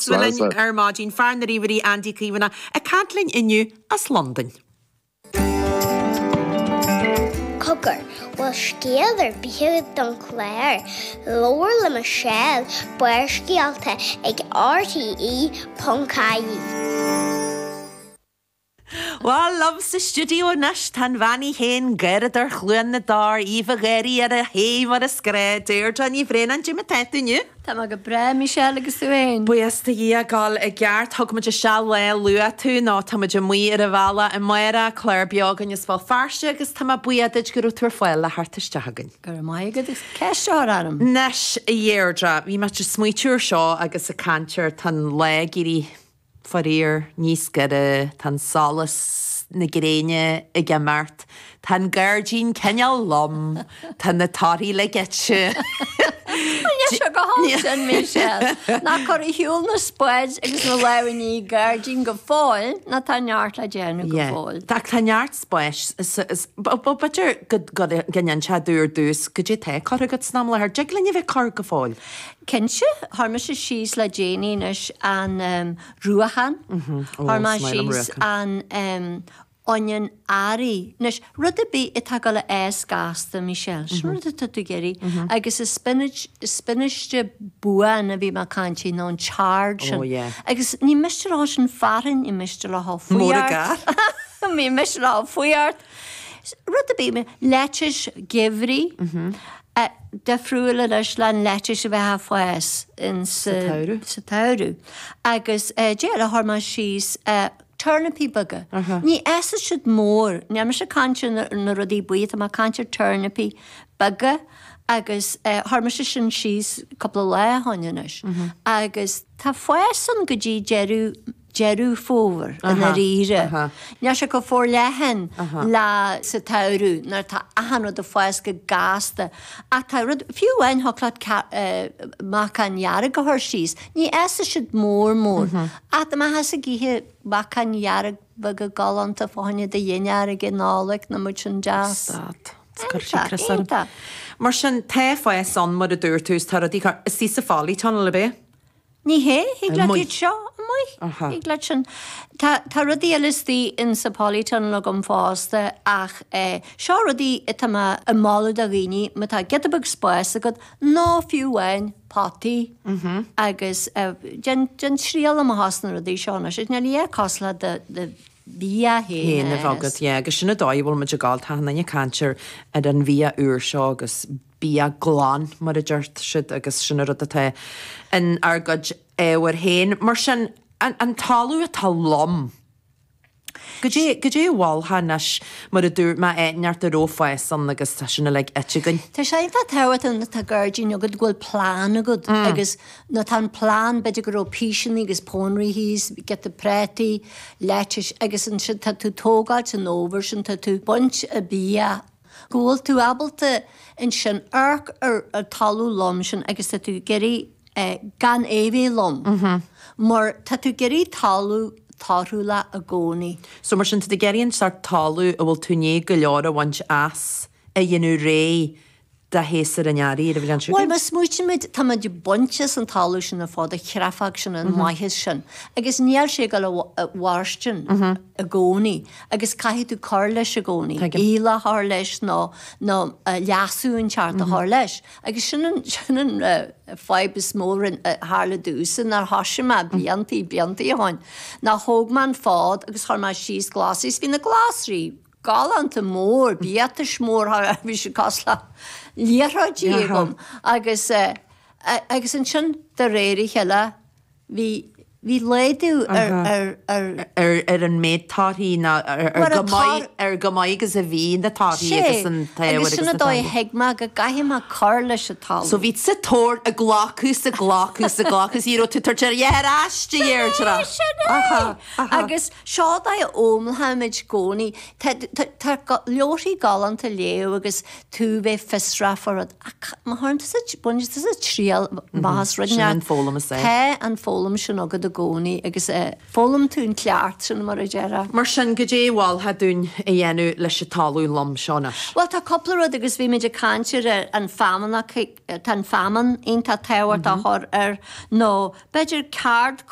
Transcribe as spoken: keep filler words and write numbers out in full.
Linn ar maidin fear na ríomhairí Andy Caomhánach ag caint linn inniu as Londain. Cogar, bhfuil scéal ar bith agat don chlár, Labhair le Michelle, Barrscéalta ag RTE ponc ie. Well liom sa stiúideo anois tá an bhean í féin Garadar Chluain na dTor, Aoibhe Ghéirí ar a thaobh mar is gnách, Deirdre Ní Bhraonáin, cad é mar tá tú inniu. Tá mé go breá Michelle agus tú féin. Buíochas do Dhia gabháil i gceart thug muid isteach lá luath tú nó tá muid amuigh ar an bhealach amárach clár beo againn as Béal Feirste agus tá mé buíoch duit go raibh tú ar fáil le theacht isteach againn. Go raibh maith agat agus ceist a chur orm. Anois a Dheirdre, bhí mé ag smaoitiú ar seo agus ag caint ar tá an lá ag éirí faraor níos gaire, tá an solas na gréine ag imeacht, tá an gairdín cineál lom, tá na torthaí le goitse. Níl sé go holc sin Michelle. Ná cur ar shiúl na spáid agus na lámhainní gairdín go fóill ná tá neart le déanamh go fóill. Tá tá neart spáis b'fhéidir go ndéanfá dúr dtús cad é tá curtha agat san am i láthair, dtig linn a bheith cur go fóill. Cinnte, chuir mise síos le déanaí anois an um, ruachán, chuir mé síos an um, onion earraigh. Anois, rud ar bith atá ag dul a fhás gasta, Michelle, sin rud atá tú ag iarraidh. Agus is spinach, spinaiste buan a bhí mé ag caint faoi, nó an chard sin. Oh, yeah. Agus ní miste leo sin fearthainn, ní miste leo faoi Mór a gar. Ní miste leo faoi ort. Rud ar bith, lettuce geimhridh, uh, difriúil anois le an lettuce a bheith ag fás in sa tsamhradh. sa tsamhradh. Agus uh, déarfainn chuir mé síos uh, turnapaí beaga. Ní fhásfaidh siad mór, níl mise ag caint ar na, na rudaí buí, tá mé ag caint ar turnapaí beaga agus uh, chuir mise sin síos cúpla lá ó shin anois. Agus tá fás ann go dtí deireadh deireadh fómhair i ndáiríre. Níl sé go forleathan le sa tsamhradh nuair tá achan rud ag fás go gasta. Ach tá rud fiú amháin thig leat meacan dhearg a chur síos. Ní fhásfaidh siad mór mór. Ach dá mbeifeá ag ithe meacan dhearg beaga galánta fá choinne do dhinnéar ag an Nollaig nó muid sin deas. Stad. Iontach. Mar sin tá fás ann mar a dúirt tú is tá rudaí cur is í sa polytunnel ab é? Ní hé, thig leat Amuigh. iad seo amuigh. Aha. Thig leat sin. Tá, tá rudaí eile istigh in sa polytunnel agam fosta ach eh, seo rudaí atá mé ag moladh do dhaoine má tá giota beag spáis agat nó fiú amháin potaí agus eh, déan déan triail amach as na rudaí seo anois. Níl é cosúil le do, do bia Féin féin a bheith agat, yeah, agus sin an dóigh a bhfuil muid ag gabháil tá an duine ag caint ar ar an bhia úr seo agus bia glan mar a deir siad agus sin an rud atá in ár gcuid ábhair féin. Mar sin an, an talamh atá lom. Cad é cad é a mholfá anois mar a dúirt mé neart a raibh fás ann agus tá sin uilig ite againn. Tá sé iontach tábhachtach nuair atá gairdín agat go bhfuil plean agat agus nuair atá an plean b'fhéidir go raibh píseanna agus pónairí thíos, giota prátaí, lettuce agus ansin tá tú tógáilt an fhómhair sin tá tú baint a bia go bhfuil tú ábalta ansin amharc ar ar talamh lom sin agus tá tú ag iarraidh eh, gan é bheith lom. Mar tá tú ag iarraidh talamh torthúla i gcónaí. So mar sin tá tú ag iarraidh an sórt talamh a bhfuil tú i ndiaidh go leor a bhaint as a dhéanamh réidh do shéasúr an earraigh ar a bhliain seo Well, má smaoitímid tá muid ag baint as an talamh sin ar fad a chreafadh sin an maitheas sin. Agus níl sé ag dul a mhairstin i gcónaí, agus caithfidh tú cur leis i gcónaí. Tuigim. Aoileach a chur leis nó nó uh, leasú inteacht a chur leis. Agus sin an sin an uh, fadhb is mó rin uh, tharla domhsa nár thosaigh mé bliantaí bliantaí ó shin. Ná thóg mé an fód agus chuir mé síos glasraí, bhí na glasraí galánta mór, biatais mór bhí sé cosúil le liathróidí agam agus uh, agus ansin de réir a chéile bhí bhí laghdú ar ar ar ar ar an méid torthaí ná ar ar Mar go a maith tar- ar go maith agus a bhí na torthaí Sé, agus an t-ábhar agus sin agus an na dóigh táirgí. thuig mé go gcaithfidh mé cur leis an talamh. So bhí sa tóir ag glacadh sa glacadh sa glacadh is raibh tú tar ar ais de Dheirdre. Sin é. Agus seo dá ómlaimid i gcónaí Tá tá leabharthaí galánta léamh agus tú bheith fiosrach fá rud ach má théann tusa baineann tusa triail amach as rud Sin an foghlaim is é. Tá an foghlaim sin agat i gcónaí agus uh, foghlaim tú an ceacht sin mar a déarfá. Mar sin goidé a mholfá dúinn a dhéanamh leis an talamh lom seo anois. Well tá cúpla rud agus bhí muid ag caint ar an feamainn tá an feamainn iontach tábhachtach a chur ar nó b'fhéidir ceard